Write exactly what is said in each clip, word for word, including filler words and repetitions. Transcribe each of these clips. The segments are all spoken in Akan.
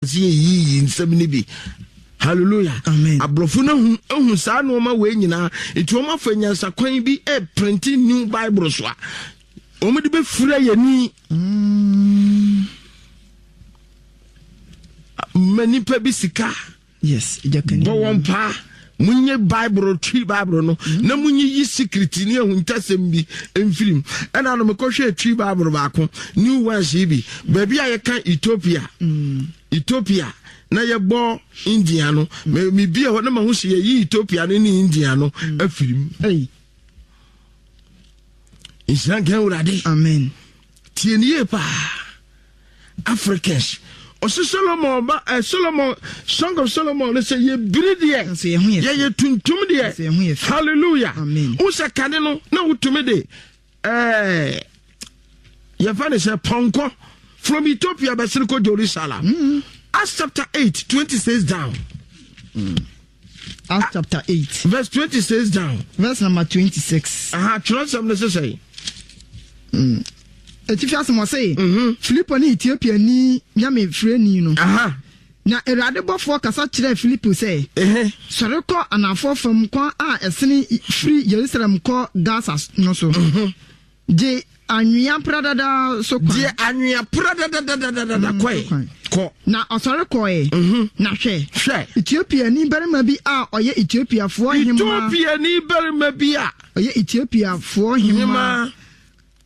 Sɛ yɛyiyi nsɛm no bi. Hallelujah. Amen. Aborɔfo no ahu ahu saa nneɛma wei nyinaa, nti wɔn afa nyansakwan bi ɛprint new Bible so a wɔn de bɛfira yɛni Mm. ma nipa bi sika. Yes, jakani. Bɔ wɔn paa, munye Bible, Twi Bible no mm. na munye yi secret ne ahuntasɛm bi mfirim. Ɛna no mekɔhwɛ Twi Bible baako, new ones yi bi, baabi a yɛka Ethiopia mm. Ethiopia na yɛbɔ India no mm. Mebie hɔ na mahu sɛ yɛyi Ethiopia no ne India no mm. afirim. Hey. Nhyira nka Awurade. Amen. Tie ne yie paa, Africans. Ɔsɛ Solomon ba ɛ Solomon, Song of Solomon no sɛ yɛbiri deɛ Nso yɛn ho yɛ fɛ. Yɛyɛ tuntum deɛ. Nso yɛn ho yɛ fɛ. Hallelujah. Amen. Wo sɛ kane no na wotumi de ɛɛ yɛfa ne sɛ pɔnkɔ from Ethiopia bɛsene kɔ Jerusalem mm. Acts chapter eight twenty-six down. Acts chapter eight. Verse twenty-six down. Verse number twenty-six. Aha, twerɛsɛm no sesɛ. Mm. Etifi asɛm ɔse, Mhm. Filipo ne Etiopiani nyame firani no. Aha. Na Awurade bɔfoɔ kasa kyerɛɛ Filipo sɛ, Ehe. "Sɔre kɔ anafoɔ fam kwan a ɛsene firi Yerusalem kɔ Gaza no so. Mhm. Gye anwea pradada so kwan." Deɛ anwea pra dadadadadada kɔe. Kwan. Kɔ. Na ɔsɔre kɔe. Mhm. Na hwɛ, hwɛ, Etiopiani barima bi a ɔyɛ Etiopiafoɔ hemmaa Etiopiani barima bi a ɔyɛ Etiopiafoɔ hemmaa hema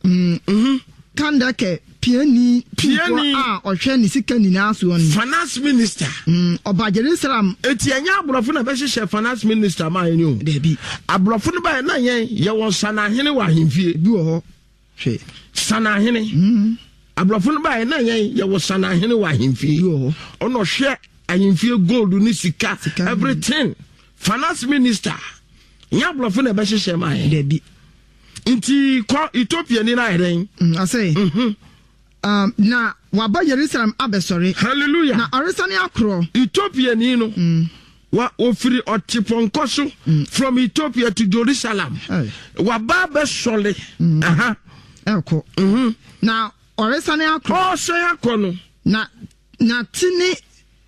mm, Mhm. Kandake piani Piani. tumfoɔ a ɔhwɛ ne sika nyinaa soɔ no. Finance minister. Mm, ɔba Jerusalem. Eti ɛnyɛ aborɔfo na bɛhyehyɛ finance minister maa yɛn o. Dabi. Aborɔfo no bayɛ na yɛn yɛwɔ sanahene wɔ ahemfie. Bi wɔ hɔ. Hwɛ. Sanahene. Mm, Aborɔfo no bayɛ na yɛn yɛwɔ sanahene wɔ ahemfie. Bi wɔ hɔ. Ɔna ɔhwɛ ahemfie gold ne sika, Sika. everything. Finance minister nyɛ aborɔfo na ɛbɛhyehyɛ maa yɛn. Dabi. Nti kɔ, Ethiopia ni na ayɛ dɛn? Mm, ɔsɛ Mhm. um, na waba Yerusalem abɛsɔre. Hallelujah. Na ɔresane akorɔ. Ethiopia ni no Mm, wa ofiri ɔte pɔnkɔ so from Ethiopia to Jerusalem. Hey. Waba abɛsɔle aha. Ɛkɔ. Mhm. Na ɔresane akorɔ. Ɔsɛn akɔ no. Na na te ne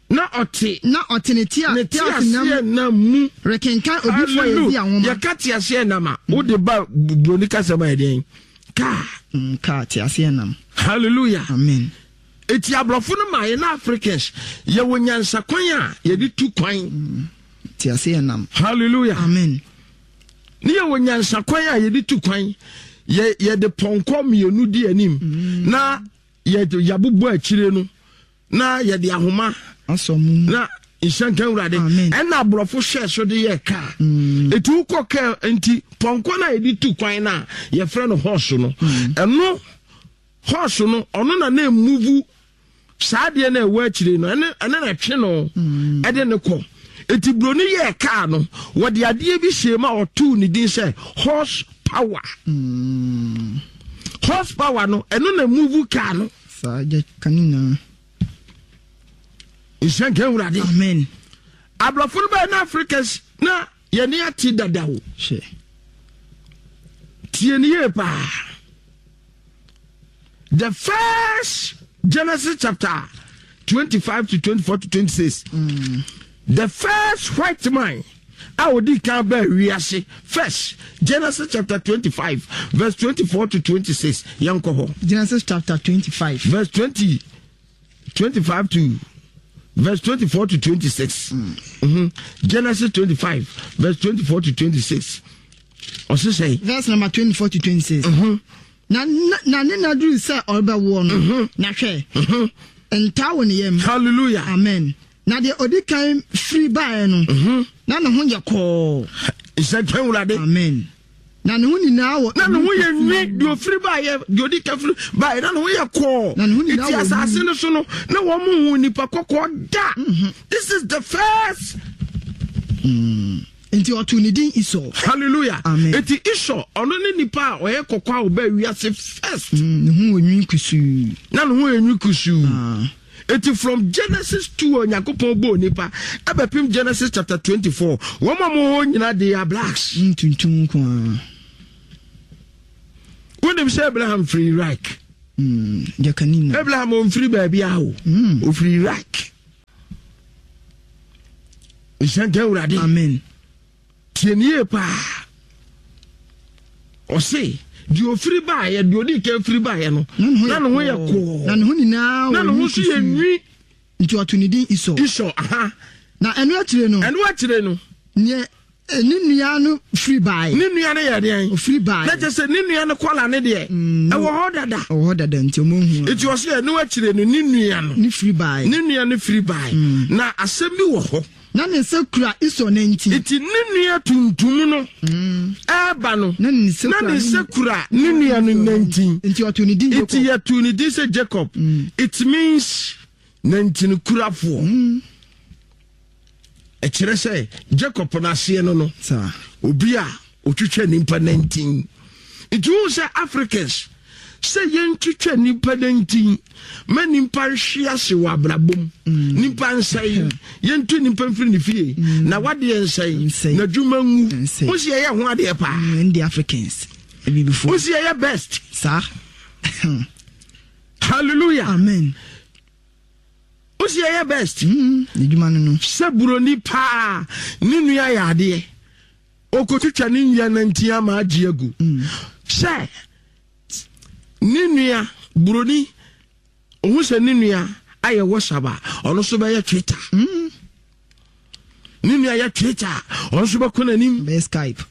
na ɔte na ɔte ne tea ne teaseɛnam teaseɛnam mu rekenkan odiyifoɔ Yesaia nwoma. Yɛka teaseɛnam a, wode ba buroni kasɛm a, yɛdeɛn kaa? Mm, kaa teaseɛnam. Hallelujah. Amen. Eti aborɔfo no ma yɛ na Africans yɛwɔ nyansakwan a yɛde tu kwan. Teaseɛnam. Hallelujah. Amen. Ne yɛwɔ nyansakwan a yɛde tu kwan. yɛ yɛde pɔnkɔ mmienu di anim na yɛde yɛabobɔ akyire no na yɛde ahoma asɔ mu. Na nhyɛnka Awurade. Amen. Ɛna aborɔfo hyɛ so de yɛ kaa. Ɛti wokɔ kaa nti pɔnkɔ no a yɛde tu kwan no a yɛfrɛ no horse no, ɛno horse no, ɔno na na ɛmove saa adeɛ no a ɛwɔ akyire no, ɛne ɛne na ɛtwe no ɛde ne kɔ. Ɛti buroni yɛɛ kaa no, wɔde adeɛ bi hyɛ mu a ɔtoo ne din sɛ horse power. Horse power no, ɛno na move kaa no. Saa gya ka ne nyinaa. Nhyɛnka Awurade. Amen. Aborɔfo no bɛyɛ na Africans na yɛne ate dada o. Hwɛ. Tie ne yie paa. The first, Genesis chapter twenty-five to twenty-four to twenty-six, the first white man a odi kan bɛɛ wiase first, Genesis chapter twenty-five verse twenty-four to twenty-six. Yɛn kɔ hɔ. Genesis chapter twenty-five. Verse twenty twenty-five to verse twenty-four to twenty-six. mm. Genesis twenty-five verse twenty-four to twenty-six, ɔse sɛ Verse number twenty-four to twenty-six. Na na ne na duru sɛ ɔrebɛwoɔ no, na hwɛ, ntaa wɔ ne yam. Hallelujah. Amen. Na deɛ odi kan firi baeɛ no, na ne ho yɛ kɔɔ. Nsɛntɛn Wurade. Amen. Na ne ho nyinaa wɔ Na ne ho yɛ nwi. Deɛ ofiri baayɛ, deɛ odi ka firi baayɛ, na ne ho yɛ kɔɔ. Na ne ho nyinaa eti wɔ asase no so no, na wɔn mu hu nipa kɔkɔɔ da. This is the first. Nti ɔtoo ne din Esau. Hallelujah. Amen. Eti Esau, ɔno ne nipa a ɔyɛ kɔkɔɔ a ɔbaa wiase first. Mm, ne ho wɔ nwi kusuu. Na ne ho yɛ nwi kusuu. Ah. Eti from Genesis two a Onyankopɔn bɔɔ nipa ɛbɛpem Genesis chapter twenty-four, wɔn a wɔwɔ hɔ nyinaa, they are blacks. Mm, tuntum nko ara. Wonim sɛ Abraham firi Iraq? Mm, gyakani na Abraham ɔmfiri baabi a o. Mm. Ɔfiri Iraq. Nhyɛ nka Awurade. Amen. Tie ne yie paa. Ɔse deɛ ofiri baeɛ, deɛ odi kan firi baeɛ no, na ne ho yɛ kɔɔ, na ne ho nyinaa na ne ho nso yɛ nwi. Nti ɔto ne din Esau. Esau, aha. Na ɛno akyire no, ɛno akyire no, neɛ ne nua no firi baeɛ. Ne nua no yɛ deɛn? Ofiri baeɛ. Na kyerɛ sɛ ne nua no kɔla ne deɛ Mm. ɛwɔ hɔ dada. Ɔwɔ hɔ dada nti ɔmo hu. Nti ɔse ɛno akyire no, ne nua no ne firi baeɛ. Ne nua no firi baeɛ. Na asɛm bi wɔ hɔ. Na ne nsa kura Esau nantin. Nti ne nua tuntum no ɛɛba no, na ne nsa na kura ne nsa kura ne nua no nantin. Nti ɔto ne din Jacob. Nti yɛto ne din sɛ Jacob. It means nantin kurafoɔ. Ɛkyerɛ sɛ Jacob n'aseɛ no no saa obi a otwitwa nipa nantin. Nti wohu sɛ Africans sɛ yɛntwitwa nipa nantin ma nipa nhwe ase wɔ abrabɔ mu, nipa nsɛe, yɛntu nipa mfiri ne fie na wadeɛ nsɛe, Nsɛe. n'adwuma ngu. Nsɛe. Wo si yɛyɛ ho adeɛ paa. Mm, ndi Africans abibifoɔ. Wo si yɛyɛ best. Saa. Hallelujah. Amen. Wo si yɛyɛ best. Mm, n'adwuma no no sɛ buroni paa ne nua yɛ adeɛ, okotwitwa ne nua nantin ama agye agu, sɛ ne nua buroni ohun sɛ ne nua ayɛ WhatsApp a, ɔno nso bɛyɛ Twitter. Ne nua yɛ Twitter a, ɔno nso bɛkɔ n'anim. Bɛyɛ Skype.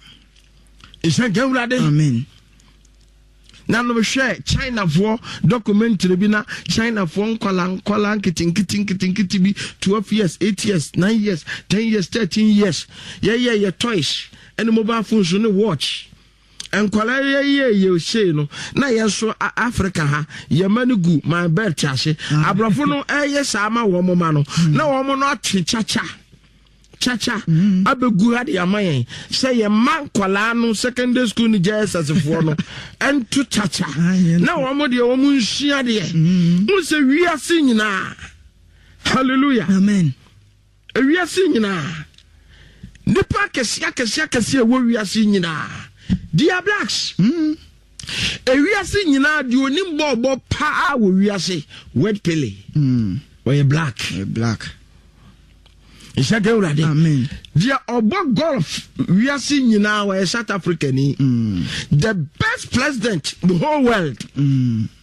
Nhyɛ nka Awurade. Amen. Na no hwɛ Chinafoɔ documentary bi, na Chinafoɔ nkwala nkwala nketenkete nketenkete bi, twelve years, eight years, nine years, ten years, thirteen years, yɛyɛ yɛ toys ɛne mobile phones ne watch. Nkwala yɛyɛ yɛ sei no, na yɛn nso Africa ha yɛma no gu my belt ase. Aborɔfo no ɛyɛ saa ma wɔn ma no na wɔn no atwe kyakya kyakya abɛgu ha de ama yɛn sɛ yɛma nkwalaa no secondary school ne J S S foɔ no ɛnto kyakya na wɔn deɛ wɔn nsua deɛ n sɛ wiase nyinaa. Hallelujah. Amen. Wiase nyinaa, nipa akɛseɛ akɛseɛ akɛseɛ ɛwɔ wiase nyinaa, they are blacks. Ewiase nyinaa, deɛ onim bɔɔbɔ paa wɔ wiase, Word Pele, ɔyɛ black. Ɔyɛ black. Nhyɛ ka Awurade. Amen. Deɛ ɔbɔ golf wiase nyinaa, wɔyɛ South Africa ni. The best president the whole world,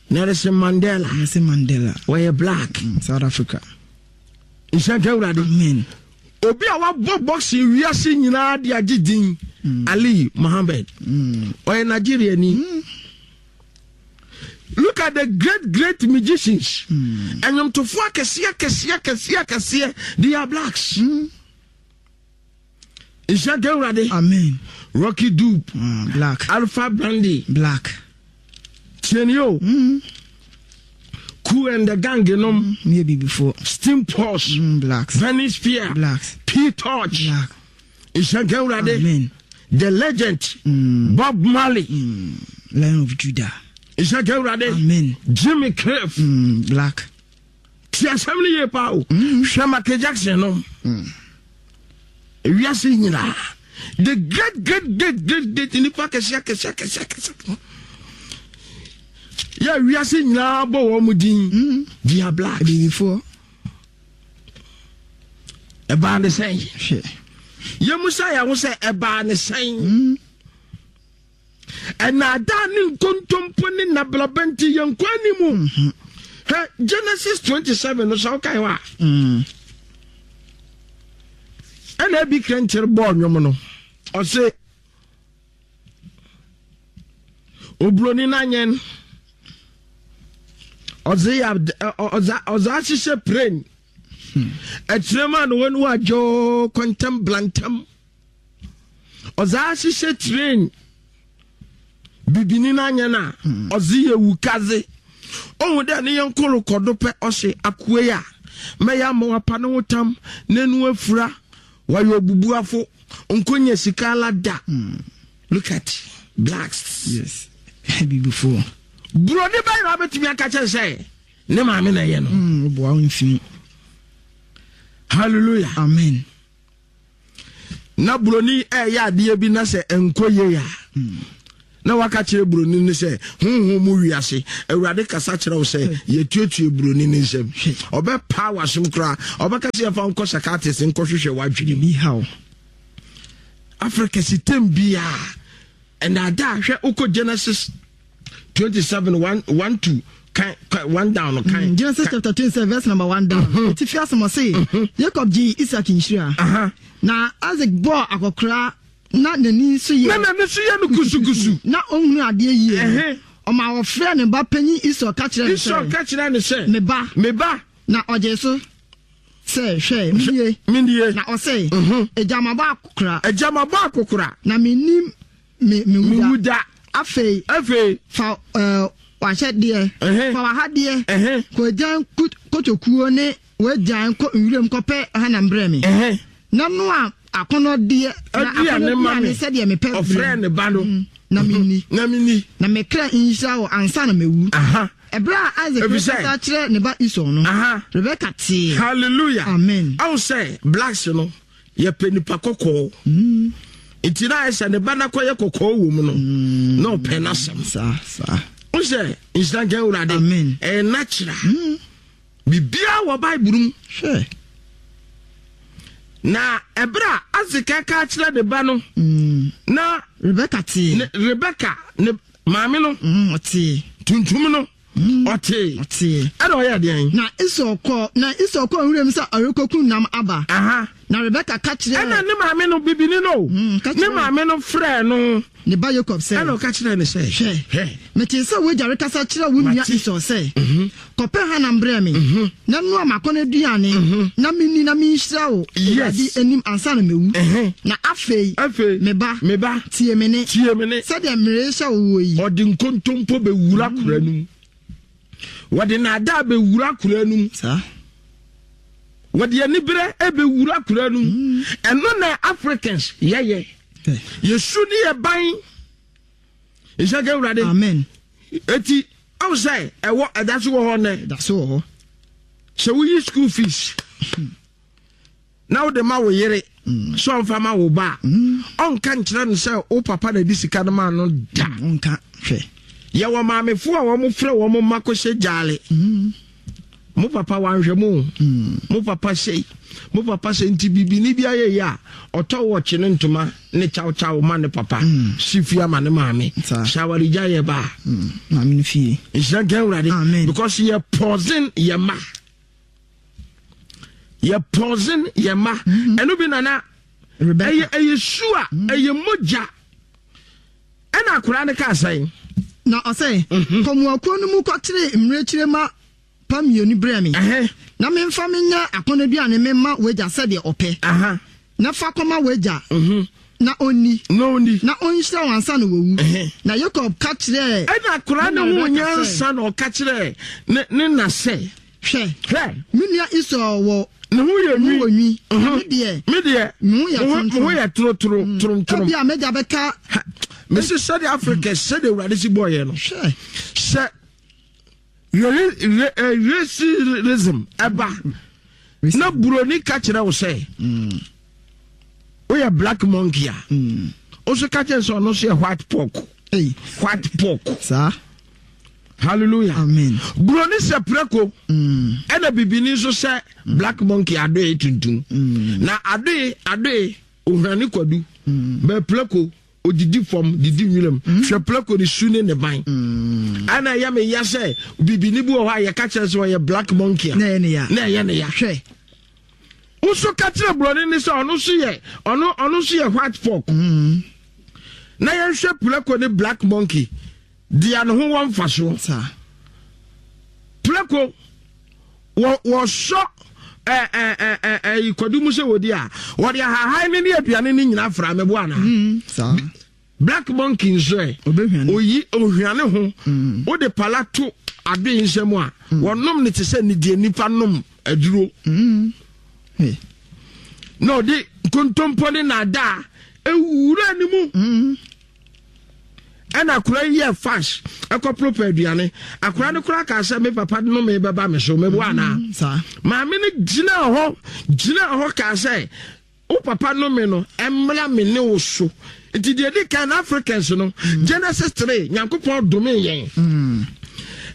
Nelson Mandela. Nelson Mandela. Wɔyɛ black. mm, South Africa. Nhyɛ ka Awurade. Amen. Obi a wabɔ boxing wiase nyinaa de agye din, Ali Mohammed, ɔyɛ Nigeria ni. Look at the great great musicians, ɛnwomtofoɔ akɛseɛ akɛseɛ akɛseɛ akɛseɛ, they are blacks. Nhyɛ ka Awurade. Amen. Lucky Dube. uh, black. Alpha Blondy. Black. Tiɛni o, Kool and the Gang nom. Mm, yɛ bibifoɔ. Steam Posh. mm, blacks. Venice Spear. Blacks. P Torch. Black. Nhyɛ nka Awurade. Amen. The legend Bob Marley. Lion of Judah. Nhyɛ nka Awurade. Amen. Jimmy Cliff. mm, black. Ti asɛm no yie paa o. Hwɛ Michael Jackson no. Ewiase nyinaa, the great great great great great nipa kɛseɛ kɛseɛ kɛseɛ kɛseɛ yɛ wiase nyinaa bɔ wɔn mu din, they are black. Abibifoɔ. Ɛbaa ne sɛn? Hwɛ. Yɛmu sa yɛn ho sɛ ɛbaa ne sɛn? Ɛnaadaa ne nkontompo ne nabraba nti yɛn kɔ animu. Hɛ, Genesis twenty-seven no, sɛ wokae hɔ a, mm. ɛna ebi krɛnkyere bɔɔ nnwom no, ɔse oburoni n'anyɛn ɔdze yɛ ɔdze ɔdze ahyehyɛ plane ɛkyerɛ mu a na wɔn wadwo kɔntɛm blantam, ɔdze ahyehyɛ train. Bibini n'anyɛn a ɔdze yɛ wukaze ohun dɛ ne yɛn koro kɔdo pɛ, ɔse akoe yi a mɛyɛ ama wapa ne ho tam n'enu afura, wɔyɛ obubuafo nkonya sika ala da. Look at blacks. Yes, abibifoɔ. Buroni bɛyɛ na wabɛtumi aka kyerɛ sɛ ne maame na ɛyɛ no. mm, woboa wo mfi. Hallelujah. Amen. Na buroni ɛyɛ adeɛ bi na sɛ nkɔ yie a, Na waka kyerɛ buroni no sɛ honhom mu wiase Awurade kasa kyerɛ wo sɛ yɛtuatue buroni no nsɛm. Ɔbɛpaa w'asom koraa. Ɔbɛka sɛ yɛfa nkɔ psychiatrist nkɔhwehwɛ w'adwene mu. Africa sitem biara ɛnaadaa. Hwɛ, wokɔ Genesis twenty-seven one one two kan one down kan. Mm, Genesis chapter twenty-seven verse number one down. Etifi asɛm ɔse Jacob gye Isaac nhyira. Na Isaac bɔɔ akɔkora na n'ani nso yɛ. Na n'ani nso yɛ no kusukusu. Na ɔnhunu adeɛ yie. Ɔma wɔfrɛ ne ba panyin Esau ka kyerɛ ne sɛ. Esau ka kyerɛ ne sɛ. Me ba. Me ba. Na ɔgye so sɛ, hwɛ, menie. Menie. Na ɔsɛ. Agya ma bɔ akɔkora. Agya ma bɔ akɔkora. Na menim me me wuda. Da. Afei. Afei. Fa ɛɛ wahyɛdeɛ. Fa wahadeɛ. Kɔ agyan kotokuo ne wagyan kɔ nwuram kɔpɛ hanam brɛ me. Na noa akɔnɔdeɛ na akɔnɔduane sɛdeɛ mepɛ. Ɔfrɛ ne ba no. Na menni. Na menni. Na me kra nhyira wɔ ansa na mewu. Ɛberɛ a Isaac rekasa kyerɛ ne ba Esau no, Rebeka tee. Hallelujah. Amen. Awo sɛ blacks no yɛpɛ nipa kɔkɔɔ. Nti na ayɛ sɛ ne ba n'akɔyɛ kɔkɔɔ wɔ mu no na ɔpɛ n'asɛm. Saa saa. O sɛ nhyira nka Awurade. Amen. Ɛyɛ natural. Biribiara wɔ Bible mu. Hwɛ. Na ɛberɛ a Isaac ka kyerɛ ne ba no na Rebeka tee. Ne Rebeka ne maame no. Ɔtee. Tuntum no. Ɔtee. Ɔtee. Ɛna ɔyɛ deɛn? Na Esau kɔ na Esau kɔ nwuram sɛ ɔrekɔkum nam aba. Aha. Na Rebeka ka kyerɛ. Ɛna ne maame no bibini no. Ne maame no frɛ no. Ne ba Jacob sɛ. Ɛna ɔka kyerɛ ne sɛ. Hwɛ. Hwɛ. Mete sɛ w'agya rekasa kyerɛ wo nua Esau sɛ. Kɔpɛ hanam brɛ me. Na noa m'akɔnnɔduane. Na menni na menhyira wo Awurade anim ansa na mewu. Na afei. Afei. Me ba. Me ba. Tie me ne. Tie me ne. Sɛdeɛ merehyɛ wo wɔ yi. Ɔde nkontompo bɛwura kura no mu. Wɔde naadaa bɛwura kura no mu. Saa. Wɔde aniberɛ bɛwura kura no mu. Ɛno na Africans yɛyɛ. Yɛsu ne yɛ ban. Nhyɛ ka Awurade. Amen. Eti awo sɛ ɛwɔ ɛda so wɔ hɔ nɛ. Ɛda so wɔ hɔ. Sɛ woyi school fees na wode ma wo yere sɛ ɔmfa ma wo ba a, ɔnka nkyerɛ no sɛ wo papa na di sika no ma no da. Ɔnka hwɛ. Yɛwɔ maamefoɔ a wɔn frɛ wɔn mma kɔhyɛ gyaale. Mo papa wanhwɛ mo. Mo papa sei. Mo papa sɛ nti bibini bi ayɛ yi a ɔtɔ wɔkye ne ntoma ne kyawkyaw ma ne papa. Si fie ama ne maame. Shawarigya yɛ ba. Maame no fie. Nhyira nka Awurade. Amen. Because yɛ poison yɛ ma. Yɛ poison yɛ ma. Ɛno bi nana. Ɛyɛ ɛyɛ su a ɛyɛ mogya. Ɛna akwaraa no kaa sɛn. Na ɔsɛ kɔmuakuo no mu kɔkyere mmirekyire ma pa mmienu brɛ me. Na memfa menyɛ akɔnnɔduane memma w'agya sɛdeɛ ɔpɛ. Na fa kɔma w'agya na ɔnni. Na ɔnni. Na ɔnhyira wo ansa na wawu. Na Jacob ka kyerɛɛ. Ɛna akwaraa no ho nyansa na ɔka kyerɛɛ ne ne na sɛ. Hwɛ. Hwɛ. Me nua Esau wɔ. Ne ho yɛ nwi. Wɔ nwi. Na me deɛ. Me deɛ. Me ho yɛ toromtorom. Me ho yɛ torotoro toromtorom. Ebia m'agya bɛka. Mesi sɛdeɛ Africa sɛdeɛ Awurade si bɔɔ yɛn no. Hwɛ. Sɛ racism ɛba na buroni ka kyerɛ wo sɛ woyɛ black monkey a, wo ka kyerɛ sɛ ɔno nso yɛ white pork. White pork. Saa. Hallelujah. Amen. Buroni sɛ prɛko ɛna bibini nso sɛ black monkey adoe tuntum. Na adoe adoe ohwane kwadu bɛ prɛko odidi fam didi nwuram. Hwɛ prɛko ne su ne ne ban. Ɛna ɛyɛ me ya sɛ bibini bi wɔ hɔ a yɛka kyerɛ sɛ ɔyɛ black monkey a na ɛyɛ ne ya. Na ɛyɛ ne ya. Hwɛ. Nso ka kyerɛ buroni ne sɛ ɔno nso yɛ ɔno ɔno nso yɛ white pork. Na yɛnhwɛ prɛko ne black monkey deɛ ne ho wɔ mfasoɔ. Saa. Prɛko wɔ wɔsɔ ɛɛ ɛɛ ɛɛ ɛɛ kwadu mu sɛ wɔdi a wɔde ahahan ne ne aduane ne nyinaa fra mɛbo ana. Saa. Black monkey nso ɛ. Obɛhwane. Oyi ohwane ho. Wode pala to ade nsɛm a wɔnom ne te sɛ ne deɛ nipa nom aduro. Na ɔde nkontompo ne naadaa ewura ne mu. Ɛna akora yi yɛ fash ɛkɔ proper aduane. Akora no koraa kaa sɛ me papa no me bɛba me so mɛbo anaa. Saa. Maame no gyina hɔ gyina hɔ kaa sɛ wo papa no me no ɛmmra me ne wo so Nti deɛ di kan, Africans no, Genesis three, Nyankopɔn dome yɛn.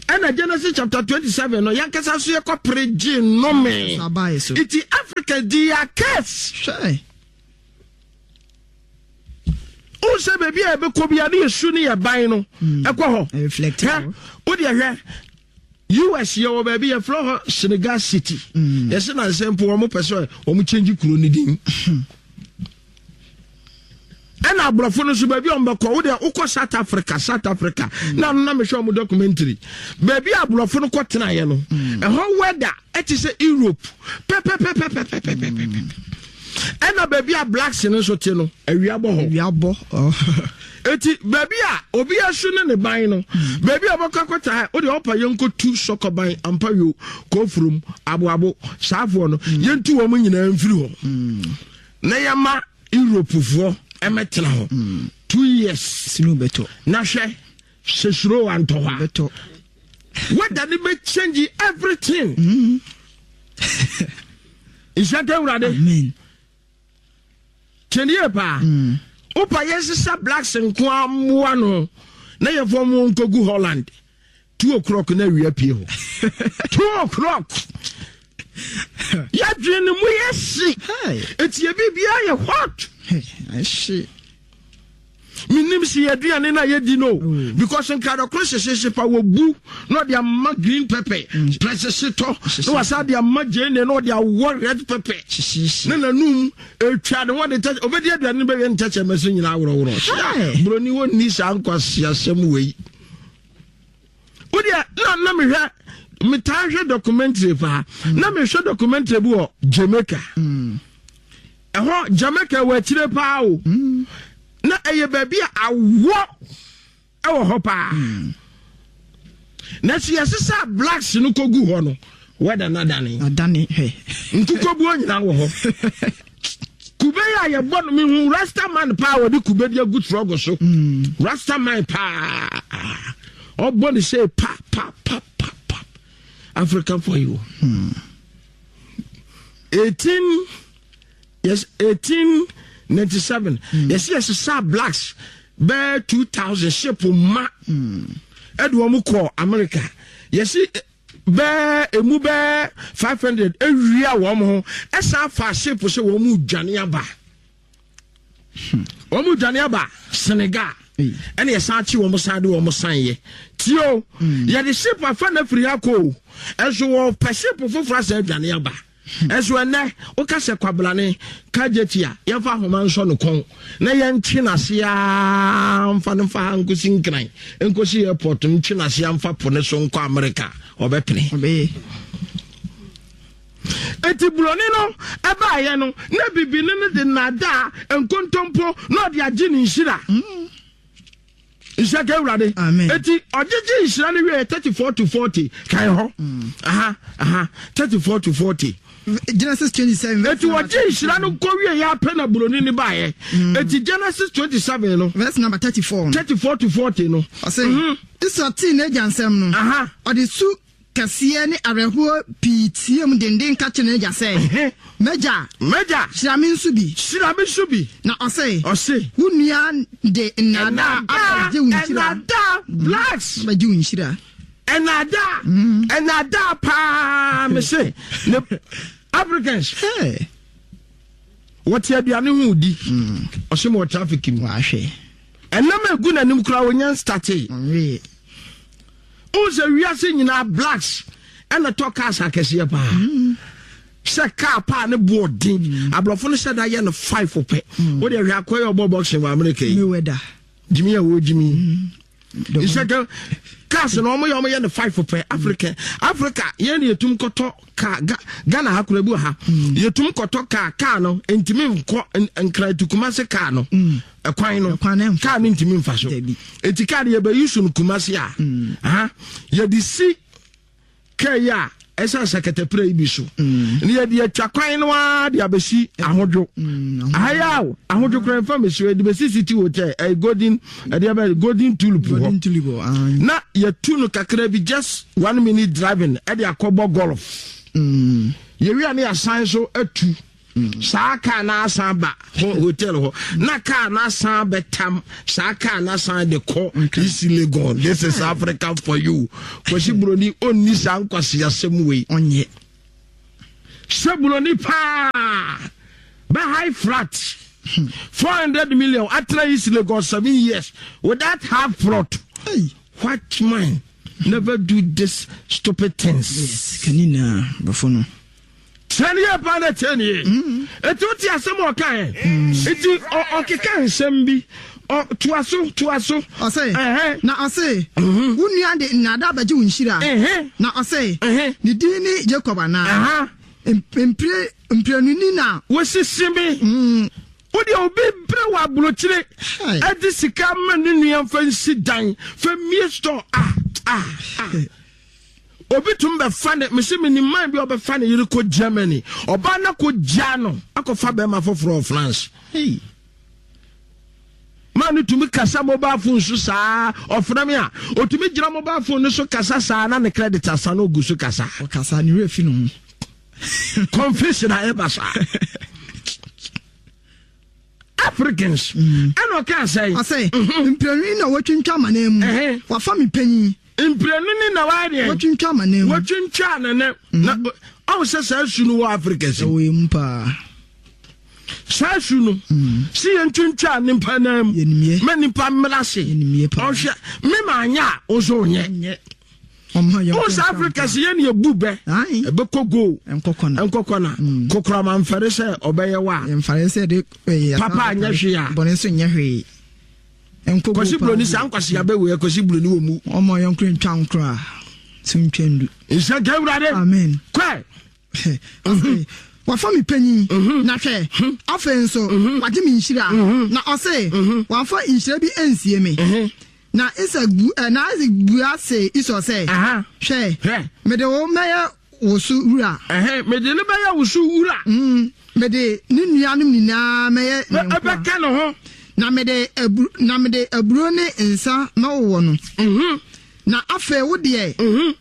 Ɛna Genesis chapter twenty-seven no, yɛnkasa so yɛkɔpere gye nnome. Abaayɛ so. Nti Africans di yɛ curse. Hwɛ. Wohu sɛ baabi a yɛbɛkɔ bia ne yɛsu ne yɛ ban no ɛkɔ hɔ. Reflect. Hwɛ, wodeɛ hwɛ, U S yɛwɔ baabi yɛfrɛ hɔ Senegal City. Yɛsɛ nansɛ mpo wɔn pɛ sɛ wɔn kyɛngye kuro no din. Ɛna aborɔfo no nso, baabi a wɔn bɛkɔ, wodeɛ wokɔ South Africa, South Africa na ano na mehwɛ wɔn documentary, baabi a aborɔfo no kɔ tenaeɛ no, ɛhɔ weather ɛte sɛ Europe pɛpɛpɛpɛpɛpɛpɛpɛ. Ɛna baabi a blacks no nso te no, awia bɔ hɔ. Wia bɔ. Eti baabi a obi asu ne ne ban no, baabi a ɔbɛkɔ akɔta ha, wode ɔpa yɛnkɔtu sɔkɔban ampa yo kɔfurom aboabo saafoɔ no, yɛntu wɔn nyinaa mfiri hɔ na yɛma Europefoɔ ɛmɛtena hɔ two years. Sinu bɛtɔ. Na hwɛ sɛ suro antɔ hɔ a, Bɛtɔ. weather ne bɛ change everything. Nhyɛ nka Awurade. Amen. Kyɛnniɛ paa, wopa yɛnsesa blacks nko a mmoa no na yɛfɔ mu nkɔgu Holland, two o'clock na awia pie hɔ. Two o'clock, yɛdwene ne mu yɛ hye. Hey. Eti yɛ biribiara yɛ hot. Hey, ahye. Menim sɛ yɛaduane no a yɛdi no, because nkradɔkoro hyehyehye pa wɔbu na ɔde ama green pepper prɛsehye tɔ na wasa de ama gyeene na ɔde awɔ red pepper. Hyehyehye. Ne nanum etwa ne wɔde tɛ obɛdi aduane no bɛyɛ ntɛkyɛ so nyinaa worɔworɔ. Hey. Buroni wɔnni saa nkwasiasɛm wei. Wodeɛ na na mehwɛ, metaa hwɛ documentary paa, na mehwɛ documentary bi wɔ Jamaica. Ɛhɔ Jamaica wɔ akyire paa o, na ɛyɛ baabi a awɔ ɛwɔ hɔ paa, na sɛ yɛsesa blacks no kɔgu hɔ no, wɛda no adane. Adane hwɛ. Nkukobuo nyinaa wɔ hɔ. Kube yi a yɛbɔ no, mehu rasta man paa wɔde kube de agu trɔgo so. Rasta man paa ɔbɔ ne sɛ pa pa pa pa pa. African for you. Eighteen, yes, eighteen ninety seven, yɛsi yɛsesa blacks bɛɛ two thousand ship ma ɛde wɔn kɔ America. Yɛsi bɛɛ emu bɛɛ five hundred ewia wɔn ho, ɛsan fa ship sɛ wɔn mu dwane aba, wɔn mu dwane aba Senegal. Ɛna yɛsan akyi wɔn san de wɔn san yɛ tio. Yɛde ship afa na firi ha kɔ o, ɛnso wɔpɛ ship foforɔ asɛ adwane aba. Ɛnso ɛnɛ woka sɛ kwabrane kagyeti a, yɛmfa ahoma nsɔ no kɔn na yɛntwe n'ase aa mfa no mfa ha nkosi Nkran, nkosi airport, ntwe n'ase amfa po ne so nkɔ Amerika, ɔbɛpene. Ɔbɛyɛ. Eti buroni no ɛbaayɛ no, na bibini no de nnadaa nkontompo na ɔde agye ne nhyira. Nhyira ka Awurade. Amen. Eti ɔgyegye nhyira no wie, thirty four to forty kan hɔ. Aha aha, thirty four to forty. Genesis twenty-seven. Eti ɔgye nhyira no nkɔ wie yɛ apɛ na buroni no baayɛ. Eti Genesis twenty seven no, Verse number thirty-four no. thirty four to forty no. Ɔsɛ Esau tee n'agya nsɛm no, Aha. ɔde su kɛseɛ ne awerɛhoɔ pii tie mu denden ka kyerɛ n'agya sɛ, "M'agya, "Mɛgya, hyira me nso bi." "Hyira me nso bi." Na ɔsɛ, Ɔse, "Wo nua de nnaadaa abɛgye wo nhyira." Ɛnaadaa blacks. Abɛgye wo nhyira. Ɛnaadaa, ɛnaadaa paa. Me se ne Africans Hey. wɔte aduane ho di, ɔsɛ ma wɔ traffic mu. Wahwɛ. Ɛnam egu n'anim koraa, wɔnya nstate. Ɔnwee. Wohu sɛ wiase nyinaa blacks ɛna tɔ cars akɛseɛ paa, sɛ car paa ne boɔ den, aborɔfo no hyɛ da yɛ no five pɛ. Wode hwɛ akɔyɛ ɔbɔ boxing wɔ America yi. Mayweather. Gyimi a wɔgyimi nhyɛ ka cars na ɔmo yɛ ɔmo yɛ no five pɛ. Africa, Africa yɛn de yɛtum kɔtɔ car. Ga Ghana ha kora bi wɔ ha, yɛtum kɔtɔ car. Car no ntumi nkɔ Nkran tu Kumase, car no ɛkwan no Ɛkwan no ɛmfa. Car no ntumi nfa so. Dabi. Eti car no yɛbɛyi so no Kumase a, aha yɛde si kaa yi a ɛsɛ sɛ yi bi so ne yɛde atwa kwan no ara de abɛsi Ahodwo ahaya o. Ahodwo kora nfa mesi yɛde bɛsi City Hotel, ɛyɛ Golden, ɛde ɛbɛ Golden Tulip hɔ. Golden Tulip hɔ, ah. Na yɛtu no kakra bi, just one minute driving, ɛde akɔbɔ golf. Mm. Yɛwia ne yɛasan so atu. Saa kaa na asan ba hotel hɔ na kaa na asan bɛtam saa kaa na asan de kɔ East Legon. This is Africa for you. Kwasi Buroni onni saa nkwasiasɛm wei. Ɔnyɛ. Sɛ Buroni paa bɛ high flat four hundred million atena East Legon seven years without half plot. Hey. White man never do this stupid things. Yes, kanina bafo no. Tiɛni yɛ paa na tiɛni yɛ. Eti o ti asɛm ɔka yɛ. Eti ɔkeka nsɛm bi. Ɔ toa so toa so. Ɔsɛ na ɔsɛ wo nua de nnada abɛgye wo nhyira. Na ɔsɛ ne din ne Jacob anaa. Mpire mpirenu na. Wosisi mi. Wode obi brɛ wɔ aburokyire. Ɛde sika ma ne nua fa nsi dan fa mie store ah ah ah. Obi tum bɛfa ne mesi mi ni man bi ɔbɛfa ne yere kɔ Germany ɔbaa na kɔ gya no akɔfa bɛrima foforɔ wɔ France. Hey. Maa no tumi kasa mobile phone so saa ɔfrɛ mi a otumi gyina mobile phone no so kasa saa na ne credit asa na ogu so kasa. Ɔkasa ne werɛ fi ne ho. Confusion a ɛba saa. Africans. Ɛna ɔka sɛ. Ɔsɛ mprenu na wɔtwintwa amanan mu. Wafa mi panyin. Mprenu ni na wayɛ deɛ. Wɔtwintwa amanan mu. Wɔtwintwa amanan mu. Na ɔwɔ sɛ saa su no wɔ Africa si. Ɛwɔ emu paa. Saa su no. Si yɛn twintwa nipa nan mu. Mɛ nipa mmira se. Ɔhwɛ mi maa nya a ɔnso nyɛ. Ɔwɔ sɛ Africa si yɛn yɛ bu bɛ. Ɛbɛkɔ go. Nkɔkɔna. Nkɔkɔna. Kokorama nfɛre sɛ ɔbɛyɛ wa. Nfɛre sɛ de. Papa anyɛ hwee a. Bɔnɛ nso nyɛ hwee. Kwasi Buroni saa nkwasi abɛwei Kwasi Buroni wɔ mu. Ɔmɔ yɛn kura ntwa nkura so ntwa ndu. Nhyɛ nka Awurade. Amen. Kɔɛ. Wafa mi panyin. Na hwɛ afei nso wagye mi nhyira. Na ɔse wamfa nhyira bi nsie mi. Na Isaac bu na Isaac bua se Esau sɛ. Hwɛ. Mede wo mɛyɛ wo so wura. Mede ne bɛyɛ wo so wura. Mede ne nuanom nyinaa mɛyɛ ne nkoa. Ɛbɛka ne ho. Na mede aburo na mede aburo ne nsa mɛwowɔ no. Na afei wo deɛ.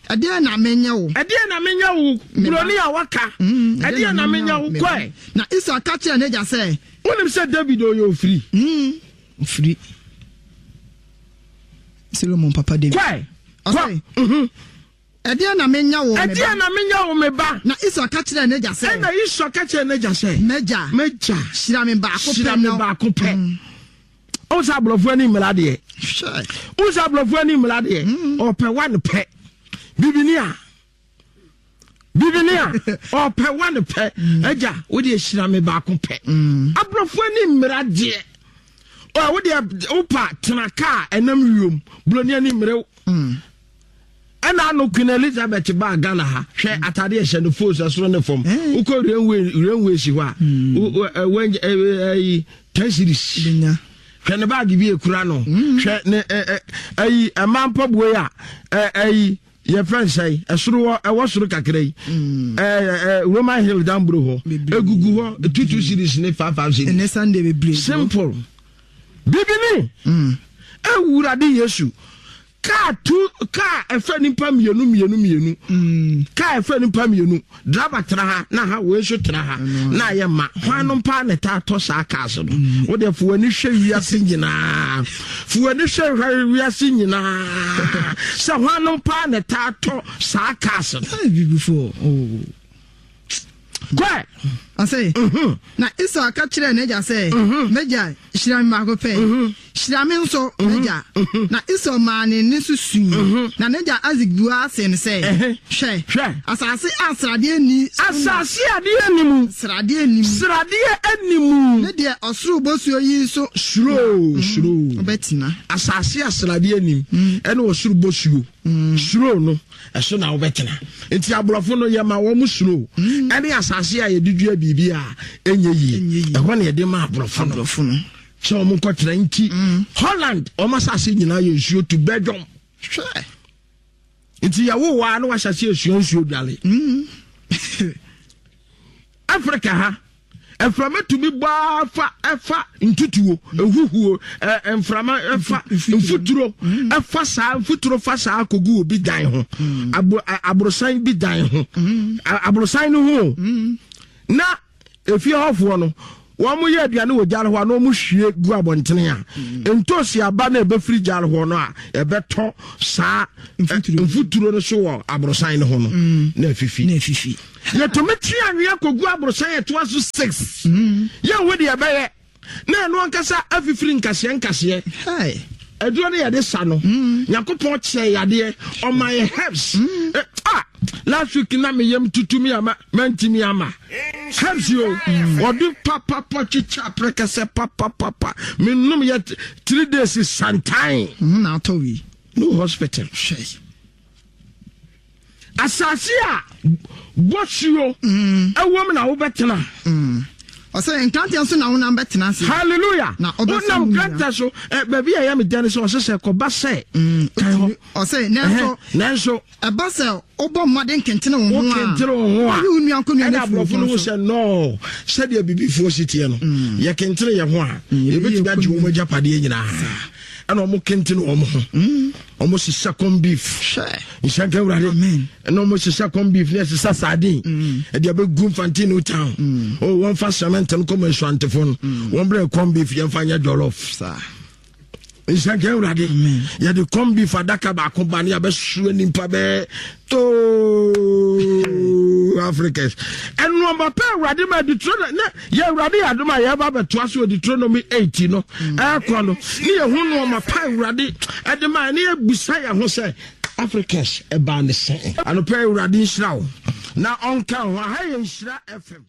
Ɛdeɛ na menyɛ wo. Ɛdeɛ na menyɛ wo. Buroni a waka. Ɛdeɛ na menyɛ wo kɔɛ. Na Esau ka kyerɛ n'agya sɛ. Wonim sɛ David ɔyɛ ofiri. Ofiri. Solomon papa David. Kɔɛ. Kɔ. Ɛdeɛ na menya wo me ba. Ɛdeɛ na menya wo me ba. Na Esau ka kyerɛ n'agya sɛ. Ɛna Esau ka kyerɛ n'agya sɛ. M'agya. M'agya. Hyira me baako pɛ. Hyira me baako pɛ. Ɔwɔ sɛ aborɔfo ani mmara deɛ. Ɔwɔ sɛ aborɔfo ani mmara deɛ. Ɔpɛ wa ne pɛ. Bibini a. Bibini a. Ɔpɛ wa ne pɛ. Agya, wo deɛ hyira me baako pɛ. Aborɔfo ani mmara deɛ. Ɔ wo deɛ wopa tena kaa ɛnam wiem. Buroni ani mmerew. Ɛna ano Queen Elizabeth baa Ghana ha. Hwɛ atade ɛhyɛ no fos ɛsoro ne fam. Wokɔ railway railway si hɔ a. Wɔ ten series. Hwɛ ne baagi bi ekura no. Hwɛ ne ɛyi ɛma mpaboa yi a ɛyi yɛfrɛ nsɛn ɛsoro hɔ ɛwɔ soro kakra yi. Ɛɛ Roman Hill dambro hɔ. Egugu hɔ two two series ne five five series. Ɛnɛ Sunday bebree. Simple. Bibini. Ewurade Yesu. Kaa tu kaa ɛfɛ nipa mienu mienu mienu. Kaa ɛfɛ nipa mienu. Driver tena ha na ha wei nso tena ha na ayɛ ma. Hwan no mpa na taa tɔ saa cars no. Wo deɛ fo w'ani hwɛ wiase nyinaa. Fo w'ani hwɛ wiase nyinaa. Sɛ hwan no mpa na taa tɔ saa cars no. Bibifo. Oh. Kɔɛ. Ɔsɛ. Na Esau ka kyerɛɛ n'agya sɛ, M'agya, hyira me baako pɛ. Hyira me nso, m'agya. Na Esau maa ne nne so sui. Na n'agya Isaac buaa see no sɛ, Hwɛ, asase a sradeɛ nni so na. Asase a adeɛ nni mu. Sradeɛ nni mu. Sradeɛ nni mu. Ne deɛ ɔsoro bosuo yi nso. Suro, suro. Ɔbɛtena. Asase a sradeɛ nni mu ɛne ɔsoro bosuo. Suro no. Ɛso na wobɛtena. Nti aborɔfo no yɛma wɔn suro ɛne asase a yɛde dua biribi a ɛnyɛ yie. Ɛhɔ na yɛde ma aborɔfo no sɛ wɔn nkɔtena. Nti Holland wɔn asase nyinaa yɛ nsuo to Belgium. Hwɛ. Nti yɛwo waa na wahyɛ ase esua nsuo dwale. Africa ha mframa tumi bɔ afa ɛfa ntutuo ehuhuo ɛ mframa ɛfa mfuturo ɛfa saa mfuturo fa saa kogu obi dan ho abo aborosan bi dan ho aborosan no ho na Efie hɔfoɔ no wɔn mo yɛ aduane wɔ gyaare hɔ a na wɔn hwie gu abɔntene a ntoosi aba na ɛbɛfiri gyaare hɔ no a ɛbɛtɔ saa mfuturo no so wɔ aborosan no ho no na afifi. Na afifi. Yɛtumi twe anwea kɔgu aborosan ɛtoa so six. Yɛn wo deɛ ɛbɛyɛ na ɛno ankasa afifiri nkaseɛ nkaseɛ. Aduro no yɛde sa no. Nyankopɔn kyerɛ yadeɛ ɔma yɛ herbs. Mm. Eh, ah, last week na meyam tutu mi ama mantimi ama herbs yo. Ɔde papapa twitwa prɛkɛsɛ papapapa menom yɛ three days santan. Na atɔ wi. No hospital. Hwɛ. Asase a bɔsuo ɛwɔ mu na wobɛtena. Ɔsɛ nkrantɛ nso na wonam bɛtena ase. Hallelujah. Na ɔbɛsa wonam wo nua. nkrantɛ so baabi a ɛyɛ me dɛ ne sɛ ɔsɛ sɛ kɔba sɛ. Ɔsɛ nanso nanso ɛba sɛ wobɔ mmɔden kentene wo ho a wokentene wo ho a woyi wo nua nkonnwa ɛna no afiri aborɔfo no wo ho so. sɛ nɔɔ sɛdeɛ bibifoɔ si teɛ no yɛkentene yɛ ho a yɛbɛtumi agye wɔn agyapadeɛ nyinaa ɛna ɔmo kentene wɔn ho ɔmo sesa corn beef Hwɛ. nhyɛnka awurade Amen. ɛna ɔmo sesa corn beef ne ɛsesa sardine ɛde abɛgu mfante new town o wɔmfa cement no kɔma nsuantefo no wɔn brɛ corn beef yɛmfa nyɛ jollof Saa. nhyɛnka awurade yɛde corn beef adaka baako ba ne yɛbɛsoa nipa bɛɛ too Africans ɛnoɔma pɛ awurade ma Deuteronomy na yɛ awurade yɛ adom a yɛba bɛtoa so wɔ Deuteronomy eight no ɛkɔ no ne yɛho nnoɔma pa awurade ɛde ma ne yɛbusa yɛn ho sɛ Africans ɛbaa ne sɛn. Anɔpɛ awurade nhyira wo na ɔnka ho. Aha yɛ Nhyira F M.